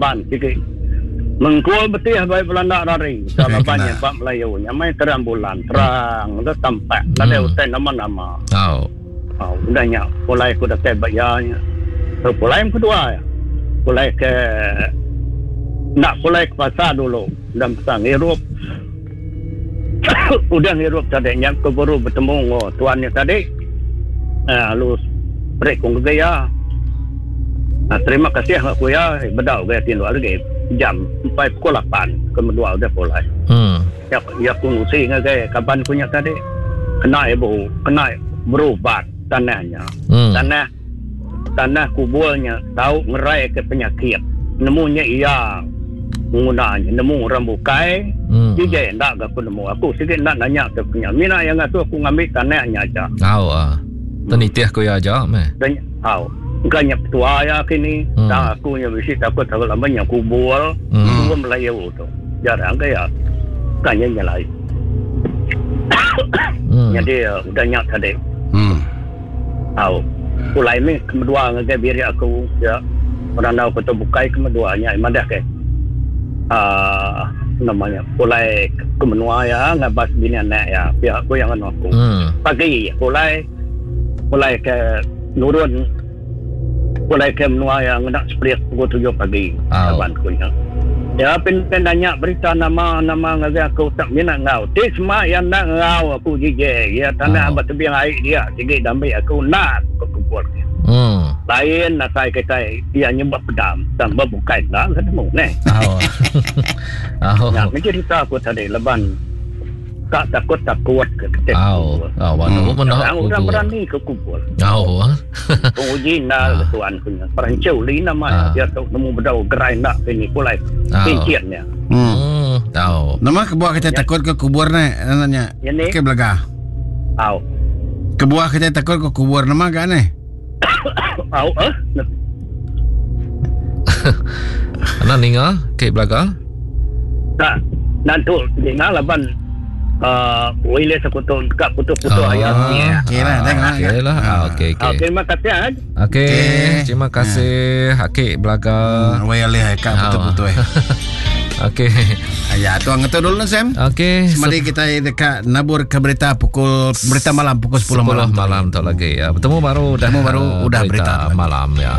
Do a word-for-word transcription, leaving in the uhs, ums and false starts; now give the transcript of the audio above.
Ban sigi mengkul betih bai Belanda rari. Labannya bak Melayu nyamai terang bulan, terang udah tampak nadai utai nama-nama. Oh. Oh, udah nya pulai ku datai ba iya nya. So, pulai yang kedua ya. Pulai ke nak pulai ke pasar dulu dan pasar ngirup. Udah ngirup tadi nya aku baru bertemu dengan tuannya tadi. Eh, lalu break ku ke ya. Nah, terima kasih aku ya bedau gaya tinduk lagi jam empat pukul lapan kedua udah pulai. Hmm. Ya ya aku ngusi ngagai kaban ku nya tadi. Kena ibu, kena berubat tanahnya. Hmm. Tanah tanah kuburnya tau ngerai ke penyakit. Nemunya iya menggunanya, nemu orang bukai. Hmm. Dia ndak aku nemu. Aku sikit nak nanya ke punya. Mina yang ngasuh aku ngambil tanahnya aja. Tau ah. Tenitih ku ya aja meh. Dan tau. Bukannya petua ya kini. Hmm. Tak aku nya bisi takut takut lama nya kubur. Hmm. Kubur Melayu tu. Jarang ke ya. Bukannya nyelai. Hmm. Jadi uh, udah nyak tadi. Hmm. Tau. Pulai ni kedua ngagai biri aku ya. Orang tahu kota bukai keduanya madah ke. Ah uh, namanya pulai ke menua ya ngabas bini anak ya pihak aku yang anu aku. Hmm. Pagi pulai pulai ke nurun pulai ke menua yang nak split pukul tujuh pagi. Oh. Kawan ku nya. Ya pin nanya berita nama-nama ngagai aku tak minat ngau. Ti semua yang nak ngau aku J J. Ya tanah Oh. oh. tebing air dia sigi damai aku nak ke kumpul. Hmm. Lain nasai kita dia nyebab pedam tambah bukai lah ketemu ne. Oh. Oh. Ya mencerita aku tadi leban tak takut-takut ke kita. Oh. Oh, waduh Hmm. mana Orang aku orang tu. berani ke kumpul. Oh. Penguji nak Ah. tuan punya. Perancu li nama Ah. dia tu nemu bedau gerai nak ini pulai Ah. cincinnya. Hmm. Hmm. Tahu. Nama kebuah kita takut ke kubur ni nanya. Ya ni. Okey belaga. Au. Kebuah kita takut ke kubur nama gak ni? Au eh. Ana ninga ke belaga? Tak. Nanti dengar laban uh, wireless aku tu dekat putus-putus Ah. ayat ni. Okey lah, tengok. Okey lah. Ah, okey Ah, okey. terima kasih. ah. Okey, Okey. terima kasih Akik belaga. Hmm, wireless kak betul-betul eh. Okey. Ya, tuang ngetu dulu Sam. Okey. Semadi kita dekat nabur ke berita pukul berita malam pukul sepuluh sepuluh malam. malam tu lagi ya. Bertemu baru dah. Bertemu baru, ah, udah berita berita lagi. malam ya.